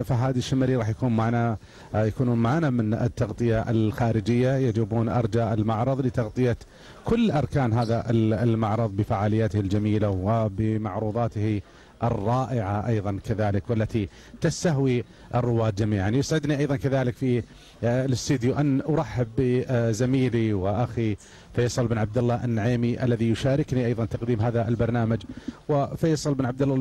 فهد الشمري راح يكونون معنا من التغطية الخارجية، يجوبون أرجاء المعرض لتغطية كل أركان هذا المعرض بفعالياته الجميلة وبمعروضاته الرائعة أيضا كذلك، والتي تستهوي الرواد جميعا. يسعدني أيضا كذلك في الاستديو أن أرحب بزميلي وأخي فيصل بن عبد الله النعيمي الذي يشاركني أيضا تقديم هذا البرنامج. وفيصل بن عبد الله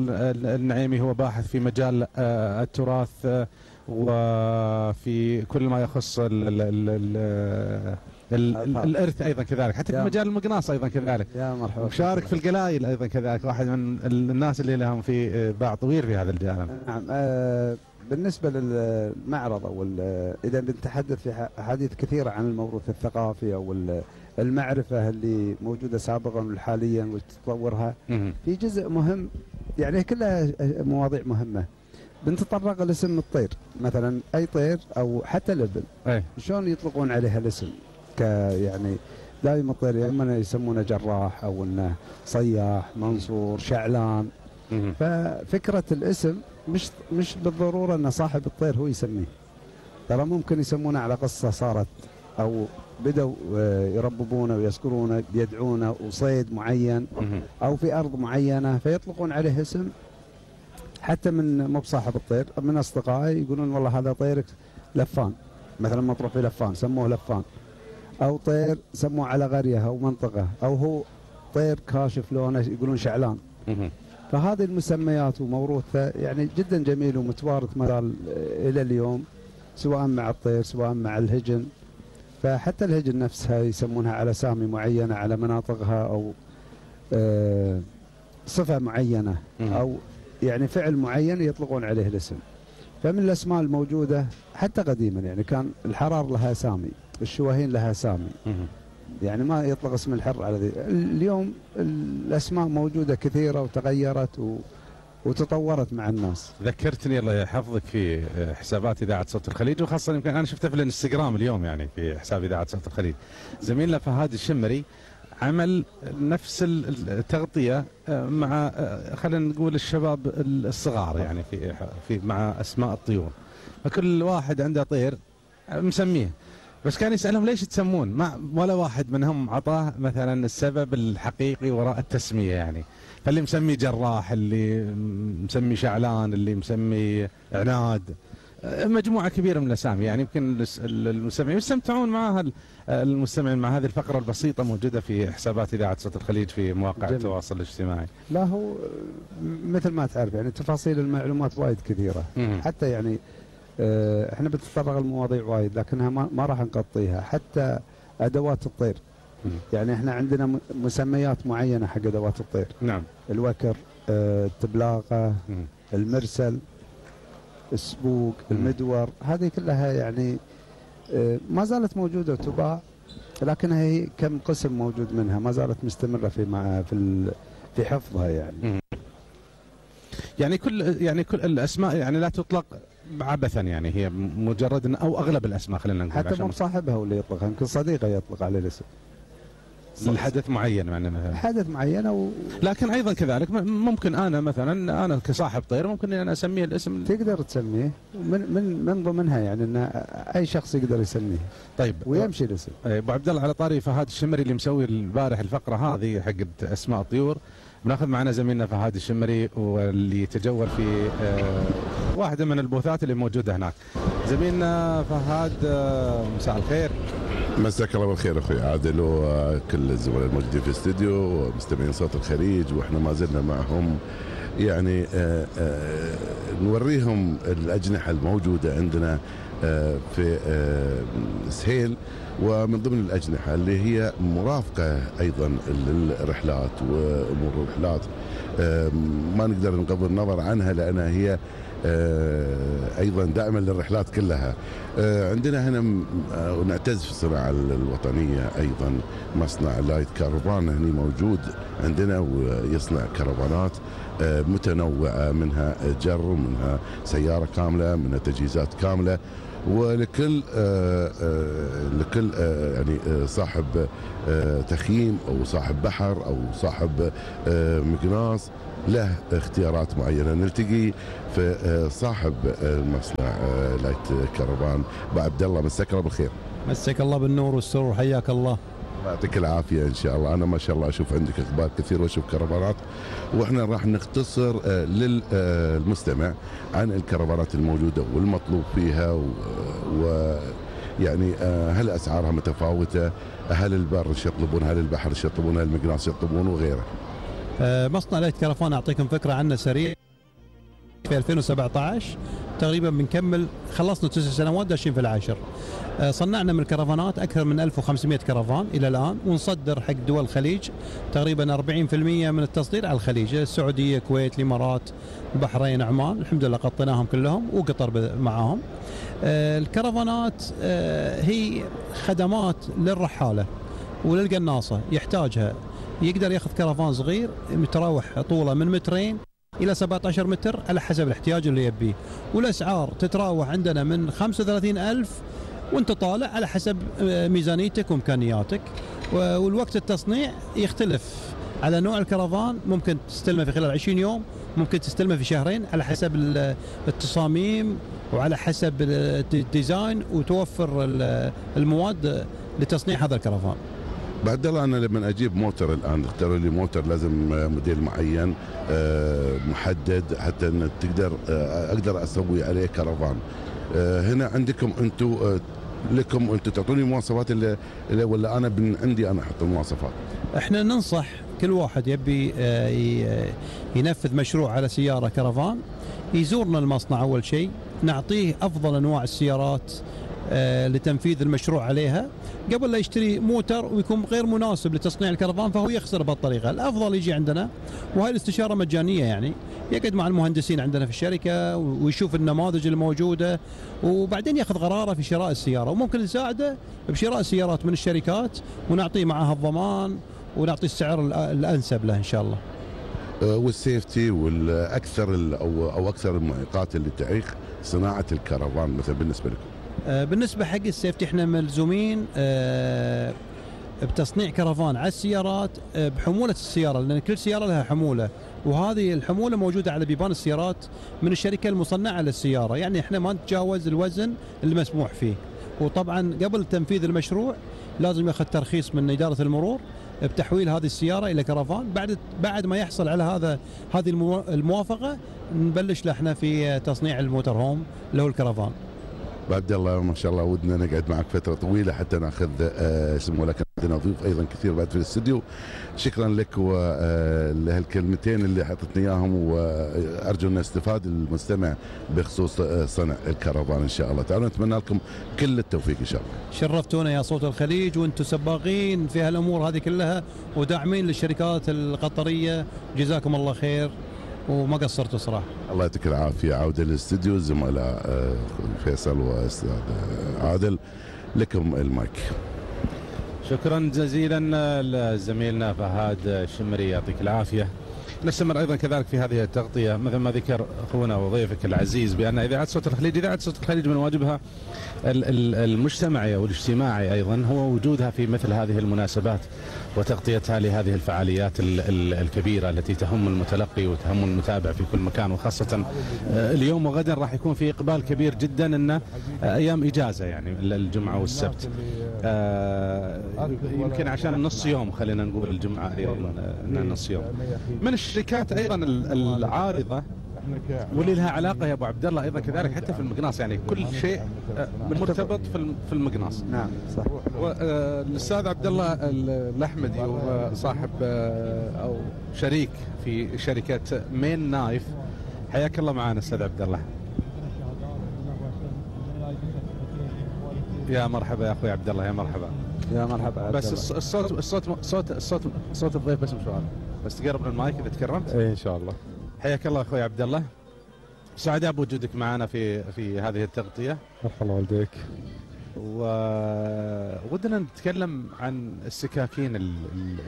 النعيمي هو باحث في مجال التراث وفي كل ما يخص الإرث أيضا كذلك، حتى في مجال المقناص أيضا كذلك. يا مرحبا. مشارك في القلايل أيضا كذلك، واحد من الناس اللي لهم في باع طويل في هذا الجانب. نعم. بالنسبة للمعرض أو إذا بنتحدث في أحاديث كثيرة عن الموروث الثقافي أو المعرفة اللي موجودة سابقا وحاليا وتطورها، في جزء مهم يعني كلها مواضيع مهمة. بنتطرق لاسم الطير مثلا، أي طير أو حتى الإبل شلون يطلقون عليها الاسم؟ يعني دائما الطير يا إما يسمونه جراح أو إنه صياح، منصور، شعلان. ففكرة الاسم مش بالضرورة أن صاحب الطير هو يسميه، ترى ممكن يسمونه على قصة صارت أو بدأوا يرببونه ويذكرونه بيدعونه وصيد معين أو في أرض معينة فيطلقون عليه اسم. حتى من مو بصاحب الطير، من أصدقائي يقولون والله هذا طيرك لفان مثلا، مطروح في لفان سموه لفان، أو طير سموه على قرية أو منطقة، أو هو طير كاشف لونه يقولون شعلان. فهذه المسميات وموروثها يعني جدا جميل ومتوارث مازال إلى اليوم، سواء مع الطير سواء مع الهجن. فحتى الهجن نفسها يسمونها على سامي معينة على مناطقها، أو صفة معينة أو يعني فعل معين يطلقون عليه الاسم. فمن الأسماء الموجودة حتى قديما يعني كان الحرار لها سامي، الشواهين لها سامي، يعني ما يطلق اسم الحر على ذي. اليوم الأسماء موجودة كثيرة وتغيرت وتطورت مع الناس. ذكرتني الله يحفظك في حسابات إذاعة صوت الخليج، وخاصة يمكن أنا شفته في الانستغرام اليوم يعني في حساب إذاعة صوت الخليج. زميلنا فهد الشمري عمل نفس التغطية مع خلينا نقول الشباب الصغار يعني في مع أسماء الطيور، فكل واحد عنده طير مسميه، بس كان يسألهم ليش تسمون؟ ما ولا واحد منهم عطاه مثلا السبب الحقيقي وراء التسمية يعني. فاللي مسمي جراح، اللي مسمي شعلان، اللي مسمي عناد، مجموعة كبيرة من الأسامي يعني. يمكن المستمعين يستمتعون معها، المستمعين مع هذه الفقرة البسيطة موجودة في حسابات إذاعة صوت الخليج في مواقع التواصل الاجتماعي. لا هو مثل ما تعرف يعني تفاصيل المعلومات وايد كثيرة. حتى يعني احنا بنتطرق المواضيع وايد لكنها ما راح نغطيها. حتى أدوات الطير يعني احنا عندنا مسميات معينة حق أدوات الطير. نعم. الوكر، التبلاقة، المرسل، السبوق، المدور، هذه كلها يعني ما زالت موجودة وتباع، لكنها هي كم قسم موجود منها ما زالت مستمرة في حفظها يعني. يعني كل الأسماء يعني لا تطلق عبثا يعني، هي مجرد او اغلب الاسماء خلينا نقول حتى مو صاحبها ولا يطلقها، يمكن صديقه يطلق عليه الاسم الحدث معين يعني مثلا حدث معين لكن ايضا كذلك ممكن انا مثلا انا كصاحب طير ممكن ان اسميه الاسم، تقدر تسميه من ضمنها يعني ان اي شخص يقدر يسميه. طيب ويمشي الاسم. ابو عبد الله على طاري فهد الشمري اللي مسوي البارح الفقره هذه حق اسماء الطيور، بناخذ معنا زميلنا فهد الشمري واللي يتجول في واحده من البوثات اللي موجوده هناك. زميلنا فهد مساء الخير. مساك الله بالخير اخوي عادل وكل الزملاء الموجودين في الاستديو ومستمعين صوت الخليج، واحنا ما زلنا معهم يعني نوريهم الاجنحه الموجوده عندنا في سهيل، ومن ضمن الأجنحة اللي هي مرافقة أيضا للرحلات وأمور الرحلات ما نقدر نغض النظر عنها لأنها هي أيضا دائما للرحلات كلها. عندنا هنا ونعتز في الصناعة الوطنية أيضا مصنع لايت كارفان هني موجود عندنا ويصنع كرفانات متنوعة، منها جر ومنها سيارة كاملة منها تجهيزات كاملة، ولكل يعني صاحب تخييم او صاحب بحر او صاحب مقناص له اختيارات معينة. نلتقي في صاحب المصنع لايت كرفان أبو عبد الله، مساك الله بالخير. مساك الله بالنور والسرور، حياك الله. الله يعطيك العافية إن شاء الله. أنا ما شاء الله أشوف عندك إقبال كثير وأشوف كرفانات، وإحنا راح نختصر للمستمع عن الكرفانات الموجودة والمطلوب فيها، ويعني هل أسعارها متفاوتة، هل البر يطلبون، هل البحر يطلبون، هل المقناص يطلبون وغيره. مصنع لايت كرفان أعطيكم فكرة عنه سريع. في 2017 تقريبا بنكمل، خلصنا 9 سنوات داشين في العاشر. صنعنا من الكرفانات أكثر من 1500 كرفان إلى الآن، ونصدر حق دول الخليج. تقريبا 40% من التصدير على الخليج، السعودية، الكويت، الإمارات، البحرين، عمان، الحمد لله غطيناهم كلهم، وقطر معاهم. الكرفانات هي خدمات للرحالة وللقناصة يحتاجها. يقدر ياخذ كرفان صغير متراوح طوله من 2 إلى 17 متر على حسب الاحتياج اللي يبيه، والأسعار تتراوح عندنا من 35,000 وانت طالع على حسب ميزانيتك وإمكانياتك. والوقت التصنيع يختلف على نوع الكرفان، ممكن تستلمه في خلال 20 يوم، ممكن تستلمه في 2 على حسب التصاميم وعلى حسب الديزاين، وتوفر المواد لتصنيع هذا الكرفان. بعد الله أنا لما أجيب موتر الآن اختاروا لي موتر لازم موديل معين محدد حتى أن تقدر أقدر أسوي عليه كرفان. هنا عندكم أنتم لكم أنتم تعطوني مواصفات اللي ولا أنا عندي أنا أحط المواصفات؟ إحنا ننصح كل واحد يبي ينفذ مشروع على سيارة كرفان يزورنا المصنع أول شيء، نعطيه أفضل أنواع السيارات لتنفيذ المشروع عليها قبل لا يشتري موتر ويكون غير مناسب لتصنيع الكرفان فهو يخسر بهالطريقة. الأفضل يجي عندنا، وهي الاستشارة مجانية، يعني يقعد مع المهندسين عندنا في الشركة ويشوف النماذج الموجودة، وبعدين ياخذ قراره في شراء السيارة، وممكن نساعده بشراء السيارات من الشركات ونعطيه معها الضمان ونعطيه السعر الأنسب له إن شاء الله. والسيفتي والأكثر أو أكثر المعيقات اللي تعيق صناعة الكرفان مثلا بالنسبة لكم؟ بالنسبة حق السيفتي احنا ملزومين بتصنيع كرفان على السيارات بحمولة السيارة، لأن كل سيارة لها حمولة، وهذه الحمولة موجودة على بيبان السيارات من الشركة المصنعة للسيارة، يعني احنا ما نتجاوز الوزن المسموح فيه. وطبعا قبل تنفيذ المشروع لازم ياخذ ترخيص من إدارة المرور بتحويل هذه السيارة إلى كرفان. بعد ما يحصل على هذه الموافقة نبلش له احنا في تصنيع الموتر هوم اللي هو الكرفان. عبد الله ما شاء الله ودنا نقعد معك فتره طويله حتى ناخذ اسمه، لكن عندنا ضيوف ايضا كثير بعد في الاستديو. شكرا لك ولهالكلمتين اللي حطتني اياهم، وارجو ان يستفاد المستمع بخصوص صنع الكرفان ان شاء الله. تعالوا نتمنى لكم كل التوفيق ان شاء الله. شرفتونا يا صوت الخليج، وانتم سباقين في هالامور هذه كلها وداعمين للشركات القطريه، جزاكم الله خير وما قصرتوا صراحه. الله يعطيك العافيه. عوده للاستديو الزملاء فيصل واستاذ عادل، لكم المايك. شكرا جزيلا لزميلنا فهد الشمري، يعطيك العافيه. نستمر ايضا كذلك في هذه التغطيه مثل ما ذكر اخونا وضيفك العزيز بان اذاعه صوت الخليج، اذاعه صوت الخليج من واجبها المجتمعي والاجتماعي ايضا هو وجودها في مثل هذه المناسبات وتغطيتها لهذه الفعاليات الكبيره التي تهم المتلقي وتهم المتابع في كل مكان، وخاصه اليوم وغدا راح يكون في اقبال كبير جدا، ان ايام اجازه يعني الجمعه والسبت، يمكن عشان نص يوم، خلينا نقول الجمعه ايضا نص يوم. من الشركات ايضا العارضه واللي لها علاقه يا ابو عبد الله ايضا كذلك حتى في المقناص، يعني كل شيء مرتبط في المقناص. نعم صح. والاستاذ عبد الله الاحمدي وصاحب او شريك في شركه مين نايف، حياك الله معنا استاذ عبد الله. يا مرحبا يا اخوي عبد الله، يا مرحبا. يا مرحبا. بس الصوت الضيف بس مشوار، بس تقرب من المايك اذا تكرمت. اي ان شاء الله. حياك الله اخوي عبد الله، سعداء بوجودك معنا في هذه التغطيه. مرحبا والديك. وودنا نتكلم عن السكاكين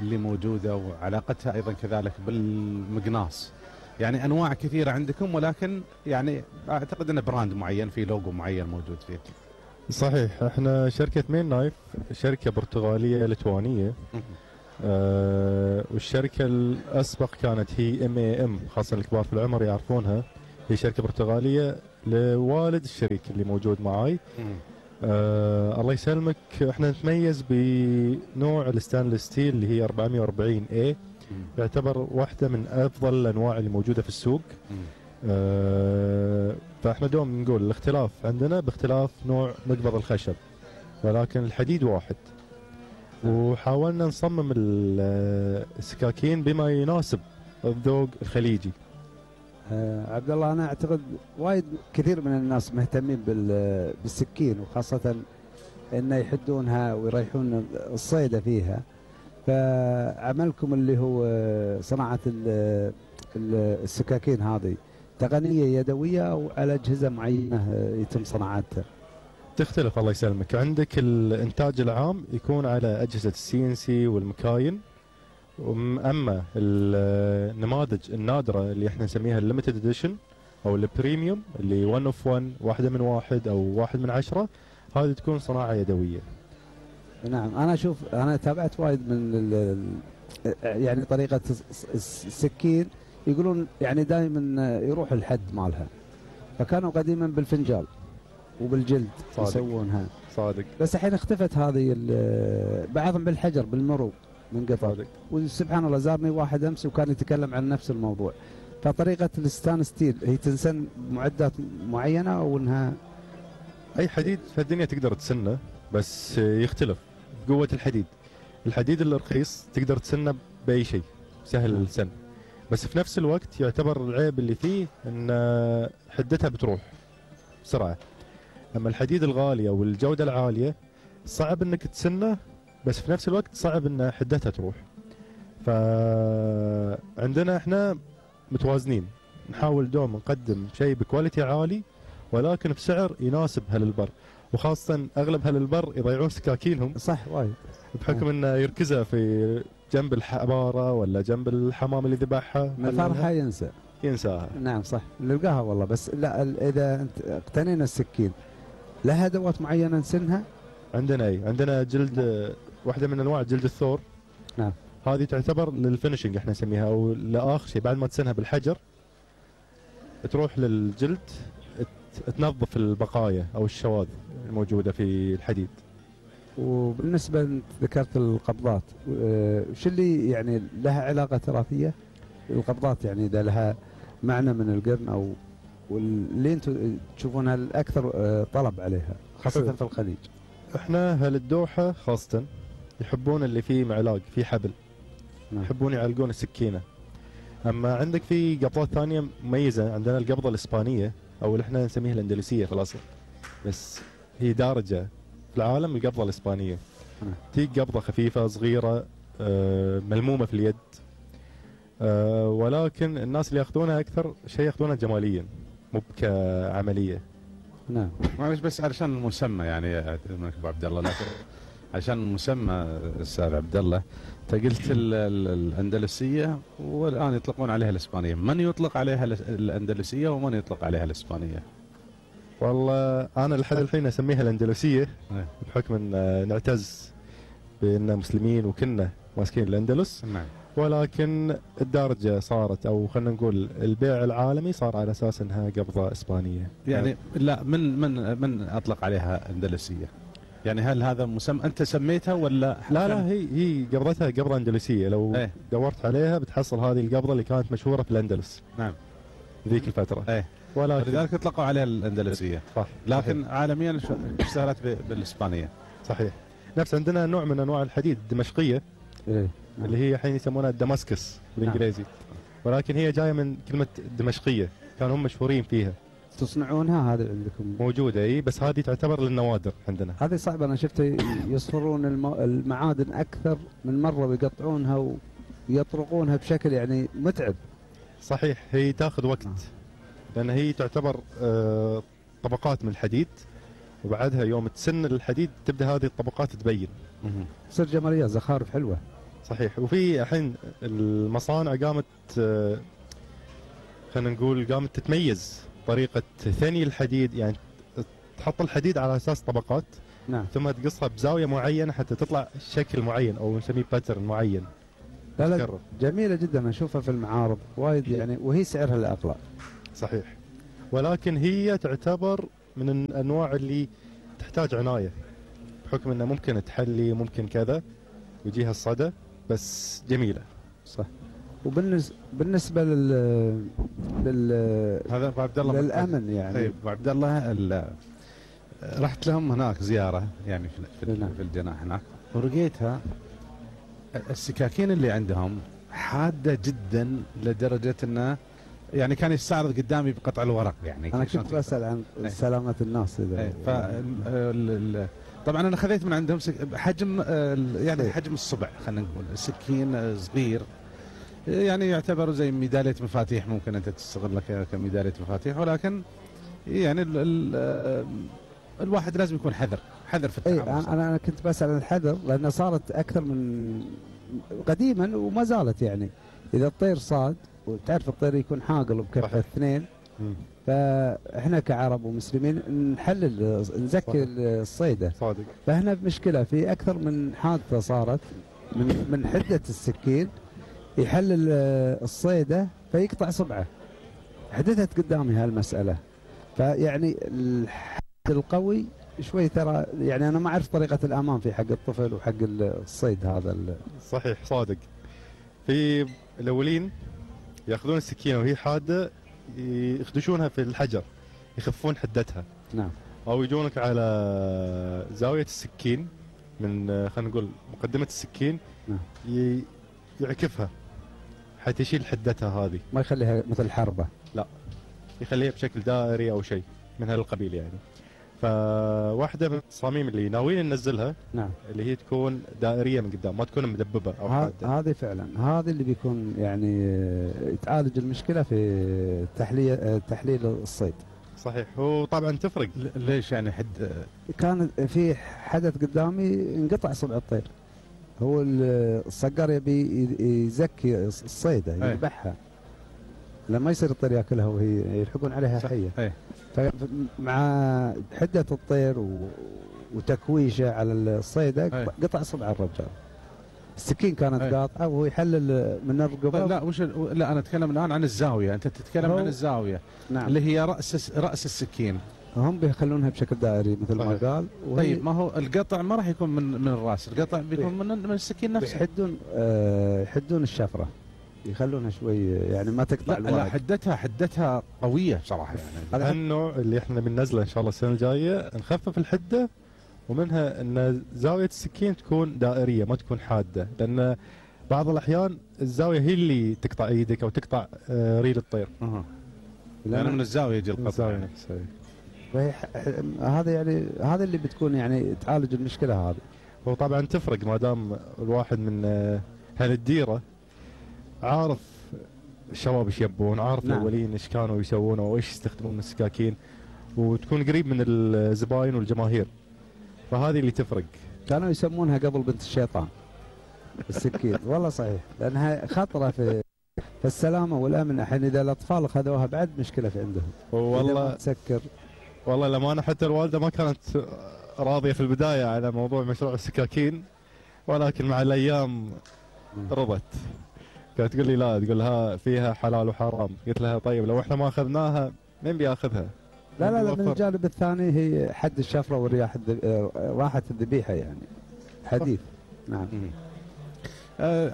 اللي موجوده وعلاقتها ايضا كذلك بالمقناص. يعني انواع كثيره عندكم، ولكن يعني اعتقد ان براند معين في لوجو معين موجود فيه. صحيح، احنا شركه مين نايف شركه برتغاليه لتوانيه. والشركة الأسبق كانت هي MAM، خاصة الكبار في العمر يعرفونها، هي شركة برتغالية لوالد الشريك اللي موجود معاي. الله يسلمك، احنا نتميز بنوع الستانلس ستيل اللي هي 440A، يعتبر واحدة من أفضل الأنواع اللي موجودة في السوق. فاحنا دوم نقول الاختلاف عندنا باختلاف نوع مقبض الخشب، ولكن الحديد واحد. وحاولنا نصمم السكاكين بما يناسب الذوق الخليجي. عبد الله، انا اعتقد وايد كثير من الناس مهتمين بالسكين، وخاصه انه يحدونها ويريحون الصيده فيها. فعملكم اللي هو صناعه السكاكين هذه تقنيه يدويه او على اجهزه معينه يتم صناعتها؟ تختلف الله يسلمك. عندك الانتاج العام يكون على اجهزه CNC والمكاين، اما النماذج النادره اللي احنا نسميها الليمتد اديشن او البريميوم اللي 1 اوف 1، واحده من واحد او واحد من 10، هذه تكون صناعه يدويه. نعم، انا اشوف، انا تابعت وايد من يعني طريقه السكين، يقولون يعني دائما يروح الحد مالها، فكانوا قديما بالفنجال وبالجلد صادق. يسوونها صادق. بس الحين اختفت هذه، بعضهم بالحجر بالمرو من قطر. وسبحان الله زارني واحد امس وكان يتكلم عن نفس الموضوع. فطريقه الستان ستيل هي تنسن بمعدات معينه او انها اي حديد في الدنيا تقدر تسنه، بس يختلف قوه الحديد. الحديد الرخيص تقدر تسنه باي شيء، سهل السن، بس في نفس الوقت يعتبر العيب اللي فيه ان حدتها بتروح بسرعه. اما الحديد الغالي او الجوده العاليه صعب انك تسنه، بس في نفس الوقت صعب ان حدتها تروح. فعندنا احنا متوازنين، نحاول دوم نقدم شيء بكواليتي عالي ولكن بسعر يناسب اهل البر، وخاصه اغلب اهل البر يضيعون سكاكينهم صح وايد بحكم انه يركزها في جنب الحباره ولا جنب الحمام اللي ذبحها، من فرحه ينساها. نعم صح، نلقاها والله. بس لا، اذا انت اقتنينا السكين لها ادوات معينه نسنها؟ عندنا عندنا جلد، واحده من انواع جلد الثور. نعم، هذه تعتبر للفينشنج احنا نسميها، او لاخر شيء بعد ما تسنها بالحجر تروح للجلد تنظف البقايا او الشواذ الموجوده في الحديد. وبالنسبه ذكرت القبضات، وش اللي يعني لها علاقه تراثيه؟ القبضات يعني اذا لها معنى من القرن او واللي انتم تشوفونها الاكثر طلب عليها خاصه في الخليج؟ احنا اهل الدوحه خاصه يحبون اللي فيه معلاق، فيه حبل. نعم. يحبون يعلقون السكينه. اما عندك في قبضات ثانيه مميزه، عندنا القبضه الاسبانيه او اللي احنا نسميها الاندلسيه في الاصل، بس هي دارجه في العالم القبضه الاسبانيه. تيجي قبضه خفيفه صغيره ملمومه في اليد، ولكن الناس اللي ياخذونها اكثر شيء ياخذونها جماليا مو كعمليه. نعم، معلش بس علشان المسمى يعني ابو عبد الله، لكن عشان المسمى استاذ عبد الله، انت قلت الاندلسيه والان يطلقون عليها الاسبانيه، من يطلق عليها الاندلسيه ومن يطلق عليها الاسبانيه؟ والله انا لحد الحين اسميها الاندلسيه بحكم ان نعتز بان مسلمين وكنا ماسكين الاندلس. نعم. ولكن الدارجه صارت، او خلينا نقول البيع العالمي صار على اساس انها قبضه اسبانيه. يعني لا، من اطلق عليها اندلسيه؟ يعني هل هذا مسمى انت سميتها ولا؟ لا هي قبضتها قبضه اندلسيه. لو دورت عليها بتحصل هذه القبضه اللي كانت مشهوره في الاندلس. نعم. ذيك الفتره. ولكن لذلك اطلقوا عليها الاندلسيه. صح. لكن صحيح. عالميا اشتهرت بالاسبانيه. صحيح. نفس عندنا نوع من انواع الحديد الدمشقيه اللي هي الحين يسمونها الدماسكس بالانجليزي. ولكن هي جايه من كلمه دمشقيه، كانوا هم مشهورين فيها. تصنعونها هذه عندكم؟ موجوده بس هذه تعتبر للنوادر عندنا. هذه صعبه، انا شفت يصفرون المعادن اكثر من مره ويقطعونها ويطرقونها بشكل يعني متعب. صحيح، هي تاخذ وقت لان هي تعتبر طبقات من الحديد، وبعدها يوم تسن الحديد تبدا هذه الطبقات تبين. تصير جماليه زخارف حلوه. صحيح. وفي الحين المصانع قامت خلينا نقول قامت تتميز طريقه ثني الحديد، يعني تحط الحديد على اساس طبقات، نعم. ثم تقصها بزاويه معينه حتى تطلع شكل معين او نسميه باترن معين. لا تكرر. جميله جدا، اشوفها في المعارض وايد يعني، وهي سعرها الاقل. صحيح، ولكن هي تعتبر من الانواع اللي تحتاج عنايه، بحكم انه ممكن تحلي ممكن كذا ويجيها الصدى، بس جميله. صح. وبالنسبه هذا ابو عبد الله للامن يعني. طيب ابو عبد الله، رحت لهم هناك زياره يعني في الجناح هناك، ولقيتها السكاكين اللي عندهم حاده جدا لدرجه انه يعني كان يستعرض قدامي بقطع الورق يعني. انا كنت بسال عن سلامه الناس اذا طبعا انا خذيت من عندهم حجم يعني حجم الصبع، خلينا نقول سكين صغير يعني يعتبر زي ميداليه مفاتيح، ممكن انت تستغلها كميداليه مفاتيح، ولكن يعني الواحد لازم يكون حذر في التعامل. انا كنت بسال عن الحذر لانها صارت اكثر من قديما وما زالت يعني. اذا الطير صاد، وتعرف الطير يكون حاقل بكفه اثنين، فاحنا كعرب ومسلمين نحلل نزكي الصيده. صادق. فاحنا بمشكله في اكثر من حادثه صارت من حده السكين، يحلل الصيده فيقطع صبعه. حدثت قدامي هالمساله، فيعني الحد القوي شوي ترى يعني انا ما اعرف طريقه الامان في حق الطفل وحق الصيد هذا. صحيح صادق. في الاولين ياخذون السكينه وهي حاده يخدشونها في الحجر يخفون حدتها. نعم. او يجونك على زاويه السكين من خلينا نقول مقدمه السكين. نعم. يعكفها حتى يشيل حدتها هذه، ما يخليها مثل حربه. لا، يخليها بشكل دائري او شيء من هالقبيل يعني. فواحده من التصاميم اللي ناويين ننزلها، نعم، اللي هي تكون دائريه من قدام، ما تكون مدببه او حاده. هذه فعلا هذه اللي بيكون يعني تعالج المشكله في تحليل الصيد. صحيح. وطبعا تفرق. ليش يعني كان في حدث قدامي انقطع صبع الطير، هو الصقر يبي يزكي الصيده يذبحها لما يصير الطير ياكلها وهي يلحقون عليها حيه. فمع حده الطير وتكويشه على الصيده قطع صبع الرجال. السكين كانت قاطعه وهو يحلل من الرقبه. لا انا اتكلم الان عن الزاويه، انت تتكلم عن الزاويه. نعم. اللي هي راس السكين. هم بيخلونها بشكل دائري مثل ما قال. طيب ما هو القطع ما راح يكون من الراس، القطع بيكون من السكين نفسه. يحدون الشفره، يخلونها شوي يعني ما تقطع الورق. لا حدتها قويه بصراحه يعني. هذا النوع اللي احنا بننزله ان شاء الله السنه الجايه، نخفف الحده، ومنها ان زاويه السكين تكون دائريه ما تكون حاده، لان بعض الاحيان الزاويه هي اللي تقطع ايدك او تقطع ريل الطير. لان من الزاويه يجي القطع. الزاويه نفسها. هذا يعني هذا اللي بتكون يعني تعالج المشكله هذه. وطبعا تفرق ما دام الواحد من اهل الديره عارف الشباب ايش يبون، عارف نعم. الاولين ايش كانوا يسوون وايش يستخدمون من السكاكين، وتكون قريب من الزباين والجماهير، فهذه اللي تفرق. كانوا يسمونها قبل بنت الشيطان السكين. والله صحيح، لانها خطره في السلامه والامن. الحين اذا الاطفال اخذوها بعد مشكله في عندهم. والله تسكر. والله لما حتى الوالده ما كانت راضيه في البدايه على موضوع مشروع السكاكين، ولكن مع الايام رضت. كانت تقول لي لا، تقول لها فيها حلال وحرام. قلت لها طيب لو احنا ما اخذناها مين بياخذها؟ لا من الجانب الثاني هي حد الشفره والرياح راحه الذبيحه يعني حديث. نعم.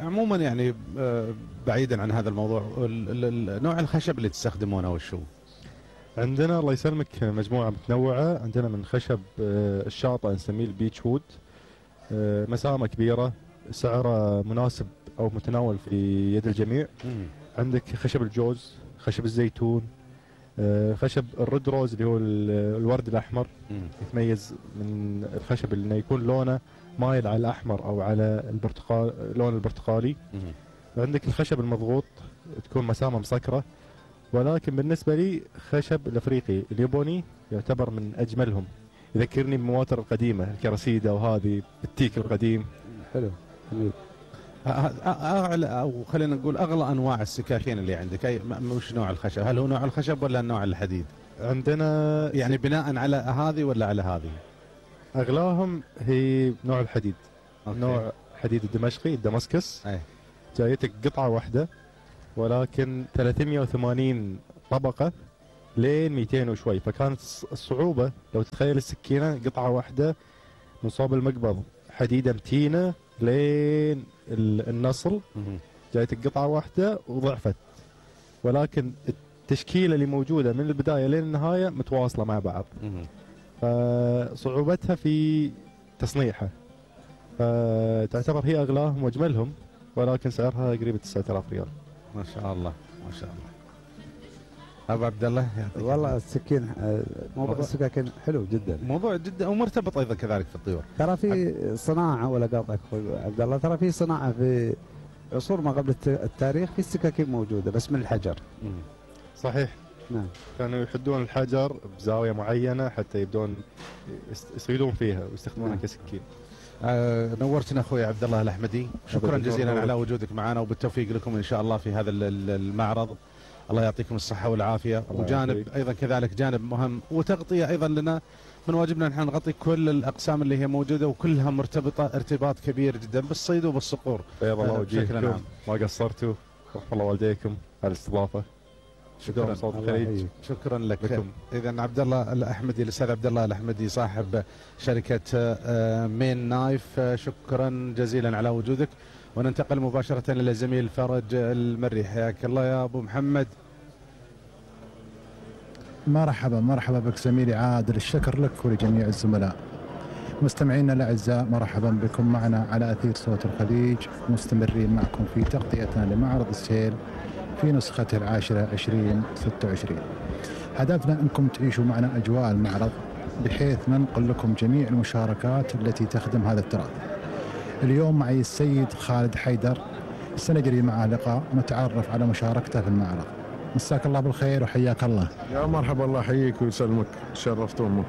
عموما يعني بعيدا عن هذا الموضوع، نوع الخشب اللي تستخدمونه وشو؟ عندنا الله يسلمك مجموعه متنوعه. عندنا من خشب الشاطئ نسميه البيتش وود، مسامه كبيره، سعره مناسب او متناول في يد الجميع. عندك خشب الجوز، خشب الزيتون، خشب الريد روز اللي هو الورد الاحمر. يتميز من الخشب اللي يكون لونه مايل على الاحمر او على البرتقال، لون البرتقالي. عندك الخشب المضغوط، تكون مسامه مسكره. ولكن بالنسبه لي خشب الافريقي الياباني يعتبر من اجملهم، يذكرني بالمواتر القديمه الكراسيدا وهذه التيك القديم. حلو. اعلى او خلينا نقول اغلى انواع السكاكين اللي عندك، وش نوع الخشب؟ هل هو نوع الخشب ولا نوع الحديد؟ عندنا يعني بناء على هذه ولا على هذه؟ اغلاهم هي نوع الحديد. أوكي. نوع حديد الدمشقي الدمسكس. أي. جايتك قطعه واحده ولكن 380 طبقه لين 200 وشوي، فكانت الصعوبه لو تتخيل السكينه قطعه واحده من صوب المقبض حديده متينه لين النصل، جايتك قطعه واحده وضعفت، ولكن التشكيله اللي موجوده من البدايه لين النهايه متواصله مع بعض. فصعوبتها في تصنيعها، فتعتبر هي اغلاهم واجملهم، ولكن سعرها قريب 9000 ريال. ما شاء الله ما شاء الله. ابو عبد الله والله السكين موضوع السكاكين حلو جدا، موضوع جدا ومرتبط ايضا كذلك في الطيور. ترى في صناعه، ولا قاطعك اخوي عبد الله، ترى في صناعه في عصور ما قبل التاريخ في السكاكين موجوده بس من الحجر. صحيح. نعم. كانوا يحدون الحجر بزاويه معينه حتى يبدون يصيدون فيها ويستخدمونها نعم. كسكين. نورتنا اخوي عبد الله الاحمدي، شكرا جزيلا على وجودك معنا، وبالتوفيق لكم ان شاء الله في هذا المعرض. الله يعطيكم الصحه والعافيه. وجانب ايضا كذلك جانب مهم وتغطيه ايضا لنا، من واجبنا نحن نغطي كل الاقسام اللي هي موجوده وكلها مرتبطه ارتباط كبير جدا بالصيد وبالصقور. بيض الله وجهكم، ما قصرتوا، رحم الله والديكم على الاستضافه. شكرا صوت الخليج. شكرا لك. اذا عبد الله الاحمدي، الاستاذ عبد الله الاحمدي صاحب شركه مين نايف، شكرا جزيلا على وجودك. وننتقل مباشره الى الزميل فرج المري. حياك الله يا ابو محمد. مرحبا بك زميلي عادل، الشكر لك ولجميع الزملاء. مستمعينا الاعزاء، مرحبا بكم معنا على اثير صوت الخليج، مستمرين معكم في تغطيتنا لمعرض السيل في نسخته 2026. هدفنا انكم تعيشوا معنا اجواء المعرض بحيث ننقل لكم جميع المشاركات التي تخدم هذا التراث. اليوم معي السيد خالد حيدر، سنجري معه لقاء ونتعرف على مشاركته في المعرض. مساك الله بالخير وحياك الله. يا مرحبا، الله يحييك ويسلمك، شرفتونا.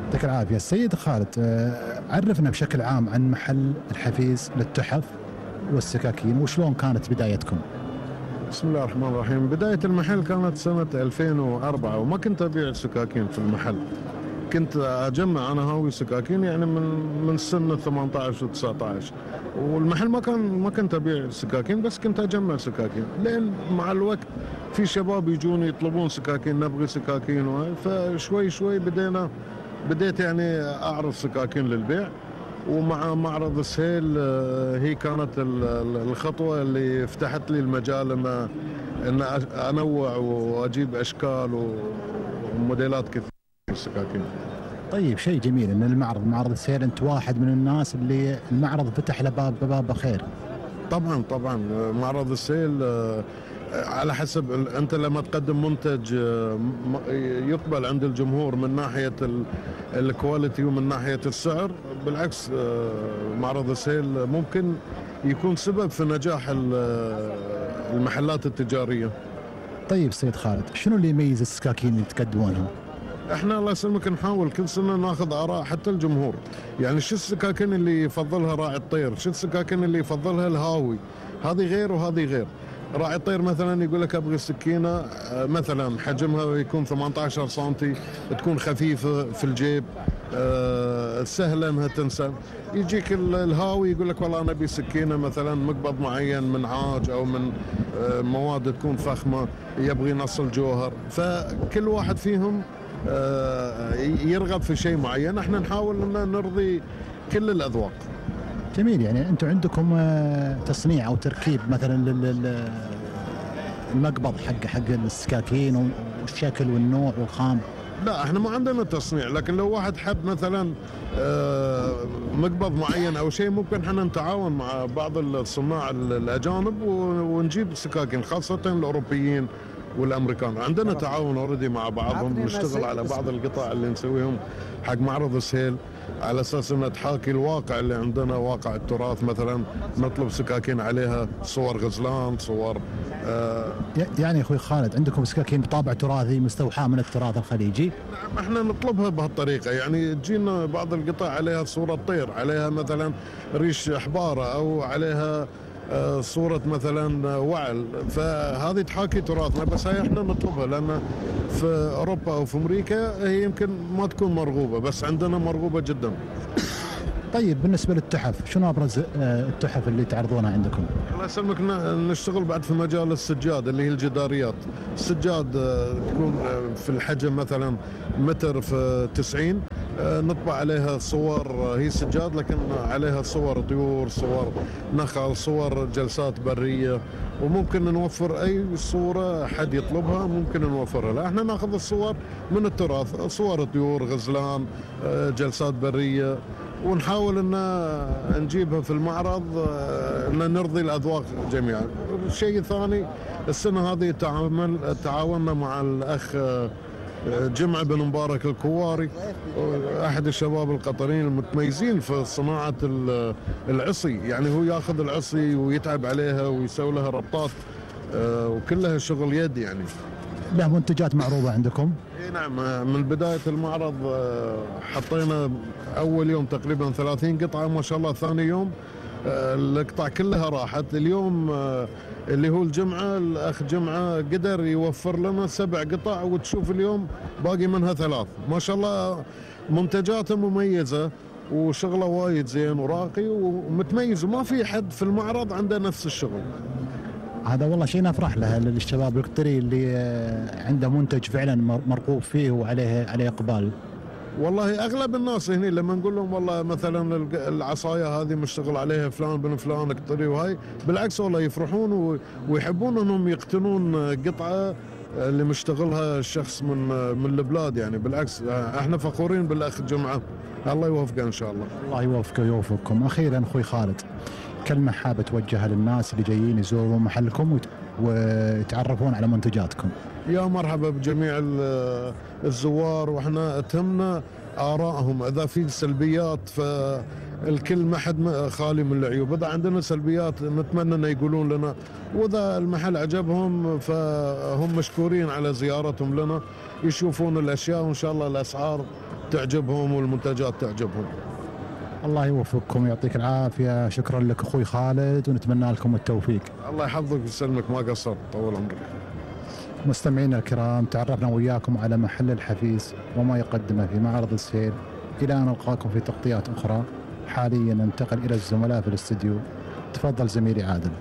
يعطيك العافيه. السيد خالد، عرفنا بشكل عام عن محل الحفيز للتحف والسكاكين، وشلون كانت بدايتكم؟ بسم الله الرحمن الرحيم. بداية المحل كانت سنة 2004، وما كنت أبيع سكاكين في المحل، كنت أجمع أنا هاوي سكاكين يعني من سنة 18 و19، والمحل ما كنت أبيع سكاكين، بس كنت أجمع سكاكين. لين مع الوقت في شباب يجون يطلبون سكاكين، نبغي سكاكين، فشوي شوي بديت يعني أعرض سكاكين للبيع. ومع معرض السيل هي كانت الخطوة اللي فتحت لي المجال ان انوع واجيب اشكال وموديلات كثيرة في السكاكين. طيب، شيء جميل ان معرض السيل انت واحد من الناس اللي المعرض فتح له باب خير. طبعا معرض السيل على حسب انت لما تقدم منتج يقبل عند الجمهور من ناحيه الكواليتي ومن ناحيه السعر، بالعكس معرض السيل ممكن يكون سبب في نجاح المحلات التجاريه. طيب سيد خالد، شنو اللي يميز السكاكين اللي تقدمونها؟ احنا الله يسلمك نحاول كل سنه ناخذ اراء حتى الجمهور، يعني شو السكاكين اللي يفضلها راعي الطير، شو السكاكين اللي يفضلها الهاوي، هذه غير وهذه غير. راعي الطير مثلا يقول لك ابغي سكينه مثلا حجمها يكون 18 سم، تكون خفيفه في الجيب، سهله انها تنسى. يجيك الهاوي يقول لك والله انا ابي سكينه مثلا مقبض معين من عاج او من مواد تكون فخمه، يبغي نصل جوهر. فكل واحد فيهم يرغب في شيء معين، احنا نحاول ان نرضي كل الاذواق. جميل. يعني انتم عندكم تصنيع او تركيب مثلا المقبض حق السكاكين والشكل والنوع والخام؟ لا، احنا ما عندنا تصنيع، لكن لو واحد حب مثلا مقبض معين او شيء، ممكن احنا نتعاون مع بعض الصناع الاجانب ونجيب سكاكين، خاصه الاوروبيين والامريكان. عندنا تعاون اوريدي مع بعضهم، نشتغل على بعض القطع اللي نسويهم حق معرض السيل، على اساس انها تحاكي الواقع اللي عندنا، واقع التراث. مثلا نطلب سكاكين عليها صور غزلان، صور يعني اخوي خالد عندكم سكاكين بطابع تراثي مستوحاه من التراث الخليجي؟ نعم، احنا نطلبها بهالطريقه، يعني تجينا بعض القطع عليها صوره طير، عليها مثلا ريش حباره، او عليها صورة مثلا وعل، فهذه تحاكي تراثنا، بس هاي احنا نطلبها لأن في أوروبا أو في أمريكا هي يمكن ما تكون مرغوبة، بس عندنا مرغوبة جدا. طيب بالنسبة للتحف، شنو أبرز التحف اللي تعرضونها عندكم؟ الله يسلمك، نشتغل بعد في مجال السجاد اللي هي الجداريات. السجاد تكون في الحجم مثلا متر في 90، نطبع عليها صور، هي سجاد لكن عليها صور طيور، صور نخل، صور جلسات برية، وممكن نوفر أي صورة حد يطلبها ممكن نوفرها. لا احنا ناخذ الصور من التراث، صور طيور، غزلان، جلسات برية، ونحاول ان نجيبها في المعرض ان نرضي الاذواق جميعا. الشيء الثاني، السنه هذه تعاوننا مع الاخ جمعة بن مبارك الكواري، احد الشباب القطريين المتميزين في صناعه العصي، يعني هو ياخذ العصي ويتعب عليها ويسوي لها ربطات وكلها شغل يد يعني. له منتجات معروضة عندكم؟ اي نعم، من بداية المعرض حطينا أول يوم تقريبا 30 قطعة، ما شاء الله ثاني يوم القطع كلها راحت. اليوم اللي هو الجمعة، الأخ جمعة قدر يوفر لنا 7 قطع، وتشوف اليوم باقي منها 3. ما شاء الله منتجاته مميزة وشغله وايد زين وراقي ومتميز، وما في حد في المعرض عنده نفس الشغل. هذا والله شيء نفرح له للشباب القطري اللي عنده منتج فعلا مرغوب فيه وعليه اقبال. والله اغلب الناس هنا لما نقول لهم والله مثلا العصايه هذه مشتغل عليها فلان بن فلان قطري، وهاي بالعكس والله يفرحون ويحبون انهم يقتنون قطعه اللي مشتغلها الشخص من البلاد يعني. بالعكس احنا فخورين بالاخ جمعه، الله يوفقه ان شاء الله. الله يوفقه ويوفقكم. اخيرا اخوي خالد، كلمه حابه توجهها للناس اللي جايين يزورون محلكم ويتعرفون على منتجاتكم. يا مرحبا بجميع الزوار، واحنا تهمنا آرائهم. اذا في سلبيات فالكل ما حد خالي من العيوب، اذا عندنا سلبيات نتمنى ان يقولون لنا، واذا المحل عجبهم فهم مشكورين على زيارتهم لنا، يشوفون الاشياء وان شاء الله الاسعار تعجبهم والمنتجات تعجبهم. الله يوفقكم ويعطيك العافيه. شكرا لك اخوي خالد، ونتمنى لكم التوفيق. الله يحفظك ويسلمك، ما قصرت، طول عمرك. مستمعينا الكرام، تعرفنا وياكم على محل الحفيز وما يقدمه في معرض السيل. الى ان نلقاكم في تغطيات اخرى. حاليا ننتقل الى الزملاء في الاستديو. تفضل زميلي عادل.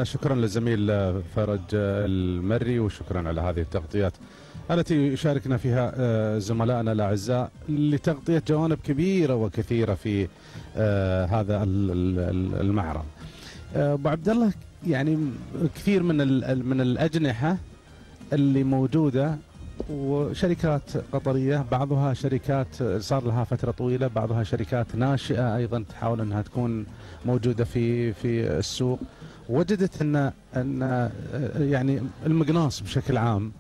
شكرا للزميل فرج المري، وشكرا على هذه التغطيات التي يشاركنا فيها زملائنا الاعزاء لتغطيه جوانب كبيره وكثيره في هذا المعرض. ابو عبد الله، يعني كثير من الاجنحه اللي موجوده وشركات قطريه، بعضها شركات صار لها فتره طويله، بعضها شركات ناشئه ايضا تحاول انها تكون موجوده في السوق. وجدت ان يعني المقناص بشكل عام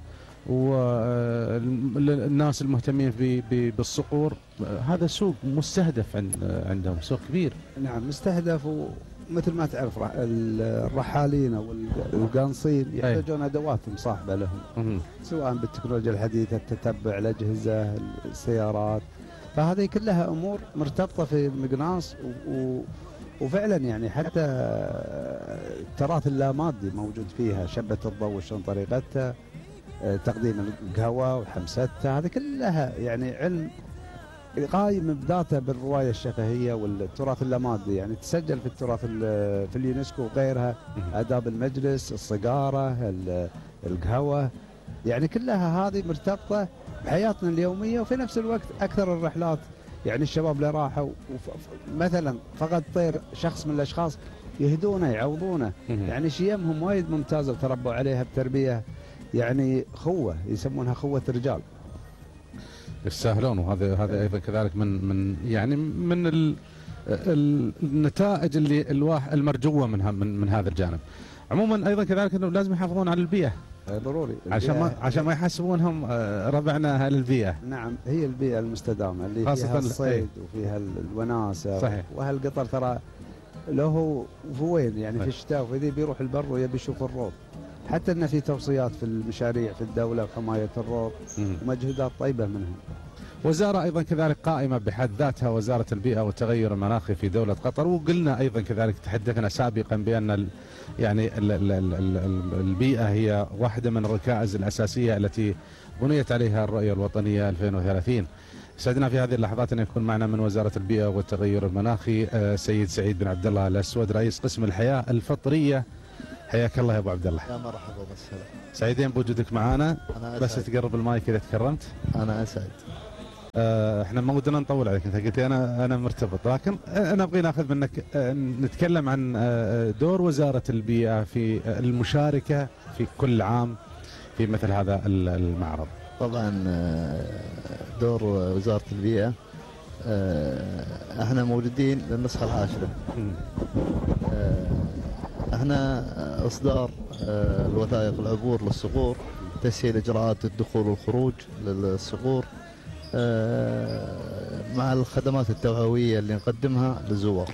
والناس المهتمين بالصقور، هذا سوق مستهدف عندهم، سوق كبير. نعم مستهدف، ومثل ما تعرف الرحالين او القانصين يحتاجون ادوات مصاحبه لهم، سواء بالتكنولوجيا الحديثه، تتبع الاجهزه، السيارات، فهذه كلها امور مرتبطه في المقناص. وفعلا يعني حتى التراث اللامادي موجود فيها، شبة الضوء شلون طريقتها، تقديم القهوة وحمستها، هذه كلها يعني علم قايم بذاته بالرواية الشفهية والتراث اللامادي، يعني تسجل في التراث في اليونسكو وغيرها، آداب المجلس، الصقارة، القهوة، يعني كلها هذه مرتبطة بحياتنا اليومية. وفي نفس الوقت أكثر الرحلات يعني الشباب اللي راحوا مثلا فقد طير شخص من الأشخاص يهدونه يعوضونه، يعني شيمهم وايد ممتازة وتربوا عليها بتربية يعني خوة، يسمونها خوة رجال. يستاهلون، وهذا ايضا كذلك من يعني من النتائج اللي المرجوه من هذا الجانب. عموما ايضا كذلك انه لازم يحافظون على البيئه، ضروري، عشان ما يحسبونهم ربعنا اهل البيئه. نعم، هي البيئه المستدامه اللي فيها الصيد وفيها الوناسه. صحيح. وهالقطر ترى له وين يعني في الشتاء وفي ذي بيروح البر ويبي يشوف الروض، حتى ان في توصيات في المشاريع في الدوله وحمايه الروض ومجهودات طيبه منهم. وزارة أيضا كذلك قائمة بحد ذاتها، وزارة البيئة والتغير المناخي في دولة قطر. وقلنا أيضا كذلك تحدثنا سابقا بأن يعني البيئة هي واحدة من الركائز الأساسية التي بنيت عليها الرؤية الوطنية 2030. سعدنا في هذه اللحظات أن يكون معنا من وزارة البيئة والتغير المناخي سيد سعيد بن عبد الله الأسود، رئيس قسم الحياة الفطرية. حياك الله يا ابو عبد الله. يا مرحبا وسهلا. سعيدين بوجودك معنا. بس تقرب المايك اذا تكرمت. انا اسعد. احنا ما ودنا نطول عليك، انت قلت لي انا مرتبط، لكن انا ابغى ناخذ منك نتكلم عن دور وزارة البيئة في المشاركة في كل عام في مثل هذا المعرض. طبعا دور وزارة البيئة احنا موجودين للنسخة العاشرة. احنا اصدار الوثائق العبور للصقور، تسهيل اجراءات الدخول والخروج للصقور مع الخدمات التوعوية اللي نقدمها للزوار.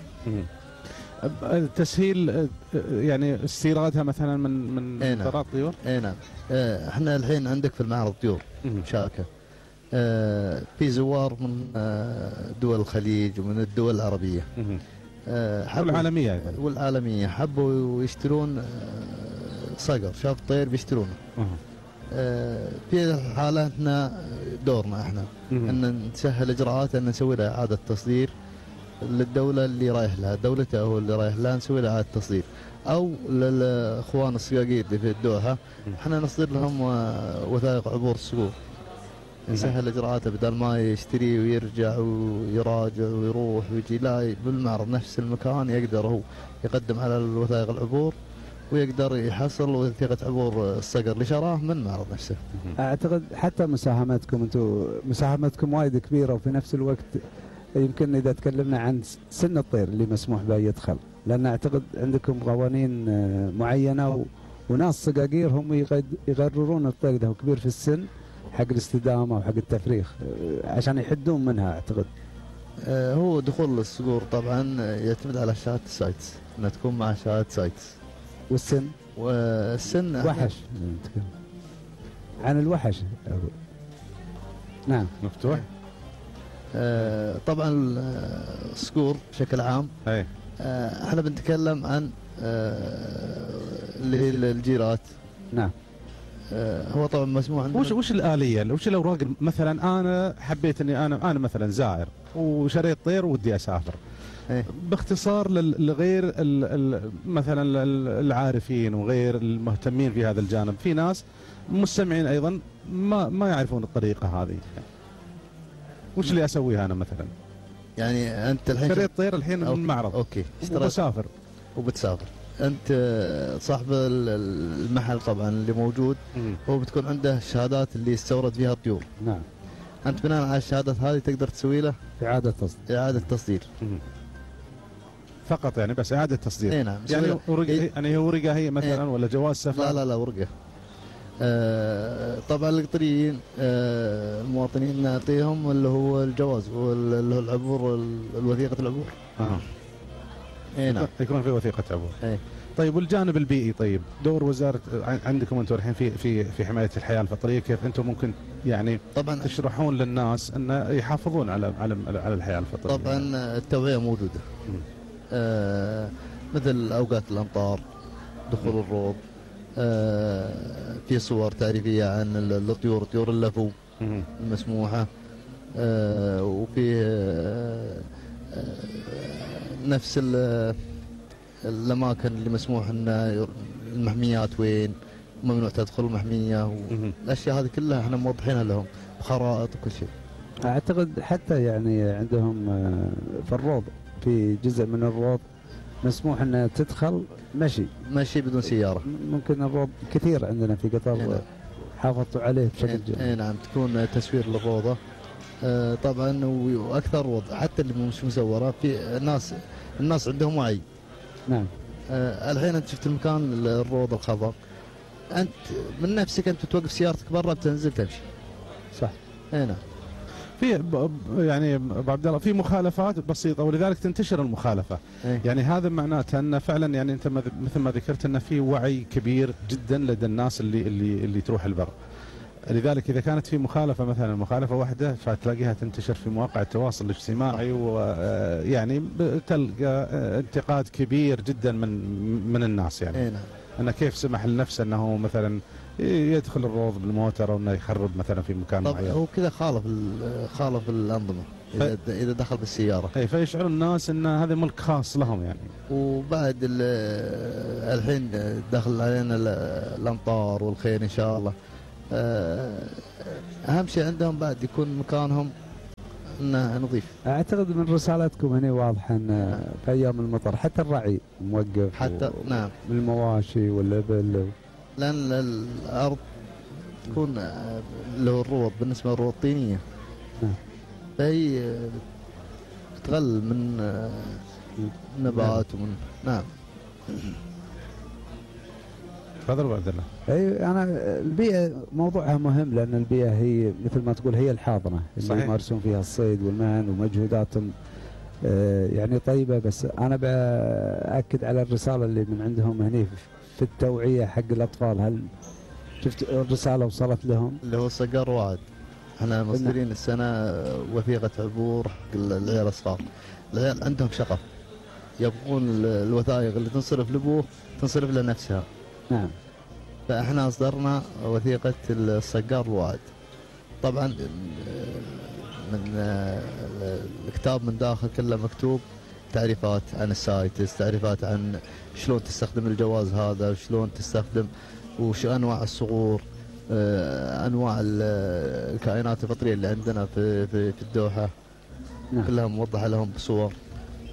تسهيل يعني استيرادها مثلا من مطارات طيور؟ اي نعم. احنا الحين عندك في المعرض طيور مشاركة، في زوار من دول الخليج ومن الدول العربية والعالمية حبوا يشترون صقر، شاف طير بيشترونه. في الحالة احنا دورنا احنا ان نسهل اجراءات، ان نسوي له اعادة تصدير للدولة اللي رايح لها، دولته هو اللي رايح لها، نسوي له اعادة تصدير، او للاخوان الصقاقير اللي في الدوحة احنا نصدر لهم وثائق عبور الصقور، نسهل اجراءاته بدل ما يشتري ويرجع ويراجع ويروح ويجي، لا بالمعرض نفس المكان يقدر هو يقدم على الوثائق العبور ويقدر يحصل وثيقة عبور الصقر اللي شراه من المعرض نفسه. اعتقد حتى مساهمتكم وايد كبيرة، وفي نفس الوقت يمكن اذا تكلمنا عن سن الطير اللي مسموح به يدخل، لان اعتقد عندكم قوانين معينة وناس صقاقير هم يقررون الطير ده كبير في السن حق الاستدامة وحق التفريخ عشان يحدون منها. اعتقد هو دخول الصقور طبعا يعتمد على شهادة السايتس، انها تكون مع شهادة سايتس. والسن وحش عن الوحش نعم مفتوح. طبعا الصقور بشكل عام احنا بنتكلم عن اللي هي الجيرات. نعم. هو طبعا مسموح عندنا. وش الآلية، وش الأوراق؟ مثلا أنا حبيت إني أنا مثلا زائر وشريت طير ودي أسافر، باختصار لغير مثلا العارفين وغير المهتمين في هذا الجانب، في ناس مستمعين أيضا ما يعرفون الطريقة هذه، وش اللي أسويها أنا مثلا؟ يعني أنت الحين شريت طير الحين من المعرض، أوكي، وبتسافر أنت صاحب المحل طبعا اللي موجود هو بتكون عنده الشهادات اللي استورد فيها الطيور. نعم. أنت بناء على الشهادات هذه تقدر تسوي له إعادة تصدير فقط، يعني بس إعادة تصدير. اي نعم. يعني هي ورقة هي مثلا ولا جواز سفر؟ لا ورقة. طبعا القطريين المواطنين نعطيهم اللي هو الجواز واللي هو العبور، الوثيقة العبور. اي نعم، يكون في وثيقة عبور. اي. طيب والجانب البيئي، طيب دور وزارة عندكم انتم الحين في حماية الحياة الفطرية، كيف انتم ممكن يعني طبعا تشرحون للناس ان يحافظون على الحياة الفطرية؟ طبعا التوعية موجودة. مثل اوقات الامطار، دخول الروض، في صور تعريفية عن الطيور، طيور اللفو المسموحة، وفي نفس الأماكن اللي مسموح أن المحميات وين، ممنوع تدخل المحمية، والأشياء هذه كلها احنا موضحينها لهم بخرائط وكل شيء. أعتقد حتى يعني عندهم في الروض، في جزء من الروض مسموح أن تدخل مشي بدون سيارة. ممكن الروض كثير عندنا في قطر حافظوا عليه بشكل جيد. نعم، تكون تسوير للروضة طبعا، واكثر وضع حتى اللي مش مزوره، في الناس عندهم وعي. نعم. الحين انت شفت المكان الروض الخضر، انت من نفسك انت توقف سيارتك برا بتنزل تمشي. صح. اي نعم. في يعني ابو عبد الله في مخالفات بسيطه ولذلك تنتشر المخالفه. يعني هذا معناته ان فعلا يعني انت مثل ما ذكرت ان في وعي كبير جدا لدى الناس اللي تروح البر. لذلك إذا كانت في مخالفة مثلا مخالفة واحدة فتلاقيها تنتشر في مواقع التواصل الاجتماعي، ويعني تلقى انتقاد كبير جدا من الناس يعني. أنه كيف سمح لنفسه أنه مثلا يدخل الروض بالموتر أو أنه يخرب مثلا في مكان معين. هو كذا خالف الأنظمة إذا دخل بالسيارة. فيشعر الناس أن هذا ملك خاص لهم يعني. وبعد الحين دخل علينا الأمطار والخير إن شاء الله. أهم شيء عندهم بعد يكون مكانهم إنه نظيف. أعتقد من رسالتكم هنا واضح أن في أيام المطر حتى الرعي موقف، حتى نعم بالمواشي والإبل، لأن الأرض تكون له الروض بالنسبة للروض الطينية، فهي تغل من نبات ومن نعم. تفضل ابو عبد الله. اي انا البيئه موضوعها مهم، لان البيئه هي مثل ما تقول هي الحاضنه اللي يمارسون فيها الصيد والمهن ومجهوداتهم يعني طيبه. بس انا باكد على الرساله اللي من عندهم هنا في التوعيه حق الاطفال. هل شفت الرساله وصلت لهم؟ اللي هو صقر وعد. احنا مصدرين السنه وثيقه عبور حق العيال الصغار. العيال عندهم شغف، يبغون الوثائق اللي تنصرف لابوه تنصرف لنفسها. نعم. فاحنا اصدرنا وثيقه الصقار الوعد. طبعا من الكتاب من داخل كله مكتوب تعريفات عن السايتس، تعريفات عن شلون تستخدم الجواز هذا، وشلون تستخدم، وش انواع الصقور، انواع الكائنات الفطريه اللي عندنا في الدوحه. نعم. كلها موضحه لهم بصور.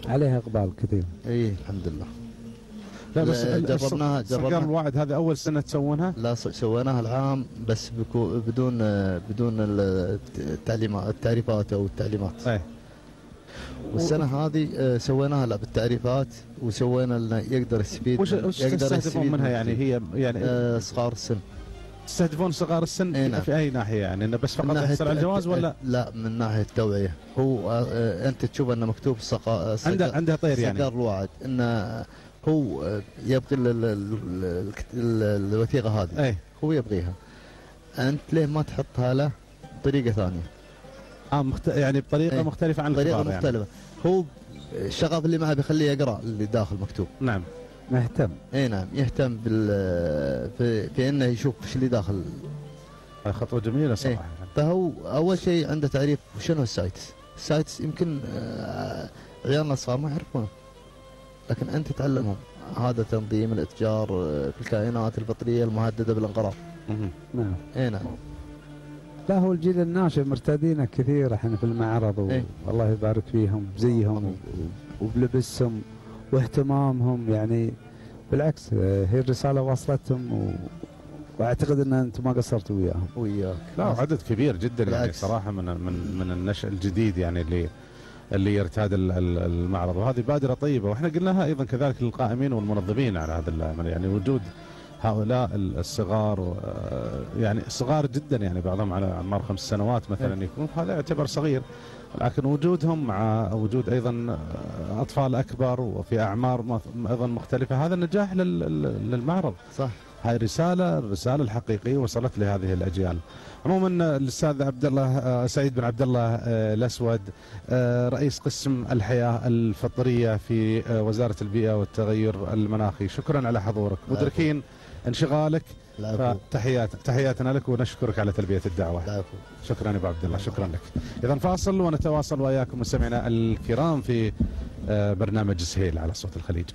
عليها اقبال كثير. اي الحمد لله. لا بس جربناها صقر الوعد هذا اول سنه تسوونها؟ لا سويناها العام بس بدون التعريفات او التعليمات. اي. والسنه هذه سويناها لا بالتعريفات، وسوينا لنا يقدر يستفيد. وش تستهدفون منها يعني؟ هي يعني صغار السن. تستهدفون صغار السن في اي ناحيه يعني؟ انه بس فقط يحصل على الجواز ولا؟ لا من ناحيه التوعيه. هو انت تشوف انه مكتوب عنده طير يعني. صقر الوعد انه هو يبغي الوثيقه هذه. أي. هو يبغيها. انت ليه ما تحطها له بطريقه ثانيه؟ يعني بطريقه مختلفه عن طريقه الكبار مختلفه يعني. هو الشغف اللي معه بيخليه يقرا اللي داخل مكتوب. نعم. مهتم. اي نعم يهتم في انه يشوف ايش اللي داخل. خطوه جميله صراحه. فهو اول شيء عنده تعريف شنو السايتس. السايتس يمكن عيالنا الصغار ما يعرفونه، لكن انت تعلمهم. هذا تنظيم الاتجار في الكائنات الفطريه المهدده بالانقراض. نعم. اي نعم. لا هو الجيل الناشئ مرتادين كثير احنا في المعرض والله يبارك فيهم بزيهم وبلبسهم واهتمامهم يعني. بالعكس هي الرساله وصلتهم واعتقد ان انتم ما قصرتوا وياهم. وياك. لا عدد كبير جدا يعني صراحه من النشء الجديد يعني اللي يرتاد المعرض، وهذه بادره طيبه. واحنا قلناها ايضا كذلك للقائمين والمنظمين على هذا العمل يعني. وجود هؤلاء الصغار يعني صغار جدا يعني بعضهم على اعمار 5 سنوات مثلا يكون، هذا يعتبر صغير، لكن وجودهم مع وجود ايضا اطفال اكبر وفي اعمار ايضا مختلفه هذا نجاح للمعرض. صح. هاي الرساله الحقيقيه وصلت لهذه الاجيال. عموما الاستاذ عبد الله سعيد بن عبد الله الاسود رئيس قسم الحياه الفطريه في وزاره البيئه والتغير المناخي، شكرا على حضورك. مدركين انشغالك، فتحياتنا لك ونشكرك على تلبيه الدعوه. شكرا يا ابو عبد الله، شكرا لك. اذا فاصل ونتواصل واياكم مستمعينا الكرام في برنامج سهيل على صوت الخليج.